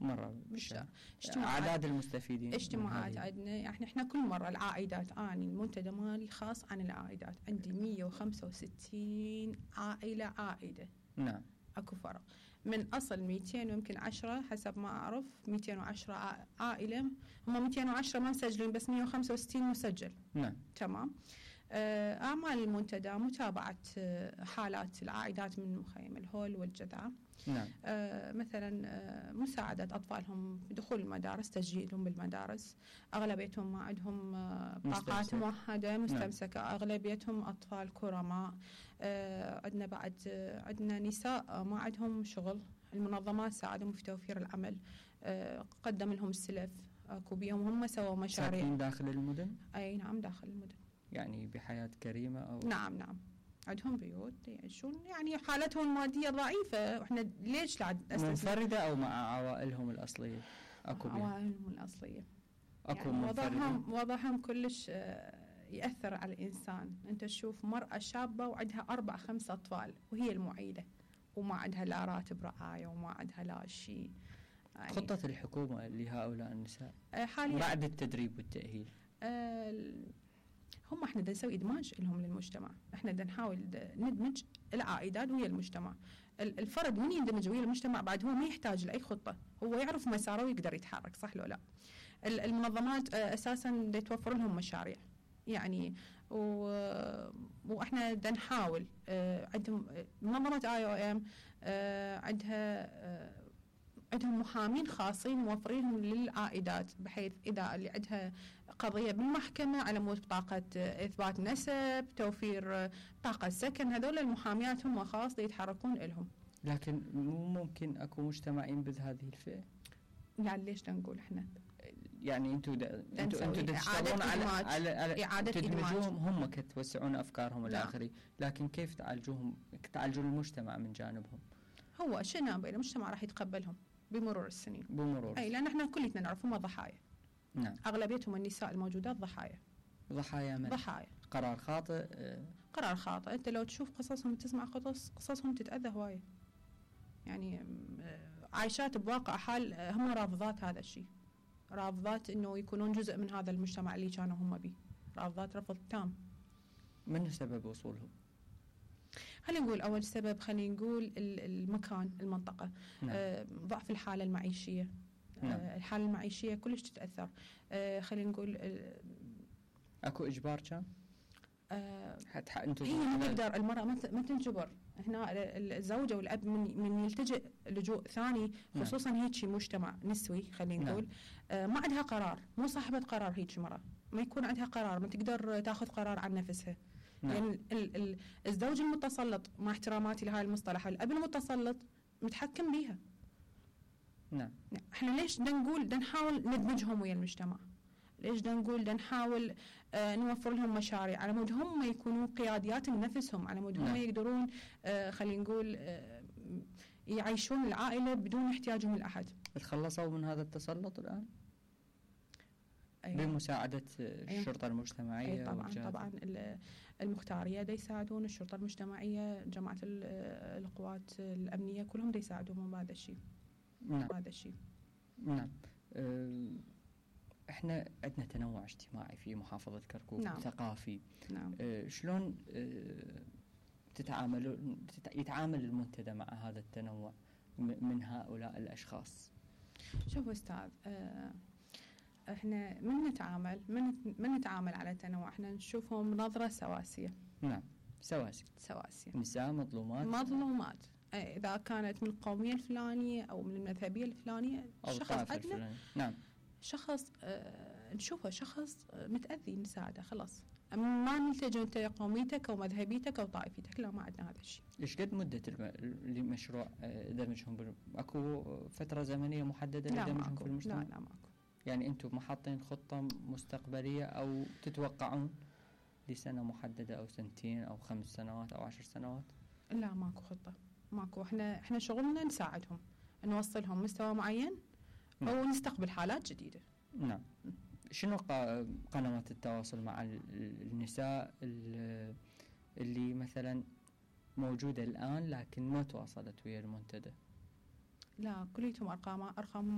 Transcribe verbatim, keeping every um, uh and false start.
مرة بالشهر. أعداد المستفيدين اجتماعات عندنا احنا احنا كل مرة العائدات، اني المنتدى مالي خاص عن العائدات، عندي مية وخمسة وستين عائلة عائدة. نعم. اكو فرق من اصل مئتين ويمكن عشرة حسب ما اعرف، مئتين وعشرة عائلة، هم مئتين وعشرة ما مسجلين بس مية وخمسة وستين مسجل. نعم. تمام. أعمال المنتدى متابعة حالات العائدات من مخيم الهول والجذع. نعم. آه مثلا آه مساعدة أطفالهم في دخول المدارس، تسجيلهم بالمدارس. أغلبيتهم ما عندهم آه طاقات موحدة مستمسكة. نعم. أغلبيتهم أطفال كرماء. آه عندنا بعد آه عندنا نساء ما عندهم شغل، المنظمات ساعدهم في توفير العمل. آه قدم لهم السلف، اكو بيهم هم سووا مشاريع. ساكنين داخل المدن؟ أي نعم داخل المدن. يعني بحياة كريمة أو؟ نعم نعم عندهم بيوت يعيشون، يعني حالتهم المادية ضعيفة، وإحنا ليش لا منفردة أو مع عوائلهم الأصلية؟ أكو عوائلهم الأصلية أكو يعني منفردة؟ وضعهم وضعهم كلش يأثر على الإنسان. أنت تشوف مرأة شابة وعندها أربع خمس أطفال وهي المعيلة، وما عندها لا راتب رعاية وما عندها لا شيء. يعني خطة الحكومة لهؤلاء النساء حاليا بعد التدريب والتأهيل؟ أه هم احنا بدنا نسوي ادماج لهم للمجتمع، احنا بدنا نحاول ندمج العائدات ويا المجتمع. الفرد من يندمج ويا المجتمع بعد هو ما يحتاج لاي خطه، هو يعرف مساره ويقدر يتحرك، صح لو لا؟ المنظمات اساسا توفر لهم مشاريع يعني، و... واحنا بدنا نحاول. عندهم منظمه اي او ام عندها عندهم محامين خاصين موفرينهم للعائدات، بحيث إذا اللي عندها قضية بالمحكمة على مود بطاقة إثبات نسب، توفير بطاقة سكن، هذول المحاميات هم خاص يتحركون لهم. لكن مو ممكن أكو مجتمع ينبذ هذه الفئة؟ يعني ليش نقول إحنا؟ يعني أنتوا أنتوا أنتوا تشتغلون على على, على إعادة تدمجوهم، هم كتوسعون أفكارهم الآخرين، لكن كيف تعالجوهم، تعالجون المجتمع من جانبهم؟ هو شئنا بين المجتمع راح يتقبلهم بمرور السنين. بمرور أي لأن احنا كلنا نعرف هم ضحايا. نعم. أغلبيتهم النساء الموجودات ضحايا. ضحايا من؟ ضحايا. قرار خاطئ. اه قرار خاطئ. أنت لو تشوف قصصهم تسمع قصص قصصهم تتأذى هواية. يعني اه عايشات بواقع حال هم رافضات هذا الشيء. رافضات إنه يكونون جزء من هذا المجتمع اللي كانوا هم به. رافضات رفض تام. من سبب وصولهم؟ خلينا نقول أول سبب، خلينا نقول المكان، المنطقة. نعم. آه ضعف الحالة المعيشية. نعم. آه الحالة المعيشية كلش تتأثر. آه خلينا نقول آه أكو إجبار كان؟ آه حتى هي ما تقدر المرأة ما تنجبر. هنا الزوجة والأب من من يلتجئ لجوء ثاني، خصوصا نعم. هيك مجتمع نسوي خلينا نقول. نعم. آه ما عندها قرار، مو صاحبة قرار. هيك مرة ما يكون عندها قرار، ما تقدر تاخذ قرار عن نفسها. نعم. يعني ال ال الزوج المتسلط، مع احتراماتي لهاي المصطلح، الأب المتسلط متحكم بيها. نعم. احنا ليش بدنا نقول بدنا نحاول ندمجهم ويا المجتمع؟ ليش بدنا نقول بدنا نحاول آه نوفر لهم مشاريع على مود هم يكونون قياديات لنفسهم، على مود هم نعم. يقدرون آه خلينا نقول آه يعيشون العائلة بدون احتياجهم لأحد. تخلصوا من هذا التسلط الآن؟ أيوة. بمساعدة الشرطة أيوة. المجتمعية. أيوة طبعا والجهات. طبعا المختارية دا يساعدون، الشرطة المجتمعية، جماعة القوات الأمنية كلهم دا يساعدون بهذا الشيء. نعم. هذا الشيء. نعم. أه احنا عندنا تنوع اجتماعي في محافظة كركوك. نعم. ثقافي. نعم. أه شلون أه تتعاملون يتعامل المنتدى مع هذا التنوع من هؤلاء الأشخاص؟ شوف أستاذ، أه احنا من نتعامل من من نتعامل على التنوع، احنا نشوفهم بنظرة سواسية. نعم. سواسية. سواسية. نساء مظلومات. مظلومات. إذا كانت من القومية الفلانية أو من المذهبية الفلانية، شخص عندنا. نعم. شخص اه نشوفه شخص متأذي نساعده خلاص، ما نلتجئ أنت قوميتك أو مذهبيتك أو طائفتك، لا ما عندنا هذا الشيء. إيش قد مدة المشروع دمجهم؟ أكو فترة زمنية محددة لدمجهم في المجتمع؟ لا لا ماكو. يعني أنتم محاطين خطة مستقبلية أو تتوقعون لسنة محددة أو سنتين أو خمس سنوات أو عشر سنوات؟ لا ماكو خطة، ماكو. إحنا إحنا شغلنا نساعدهم، نوصلهم مستوى معين أو نستقبل حالات جديدة. نعم. شنو قنوات التواصل مع النساء اللي مثلا موجودة الآن لكن ما تواصلت ويا المنتدى؟ لا كليتهم أرقام أرقام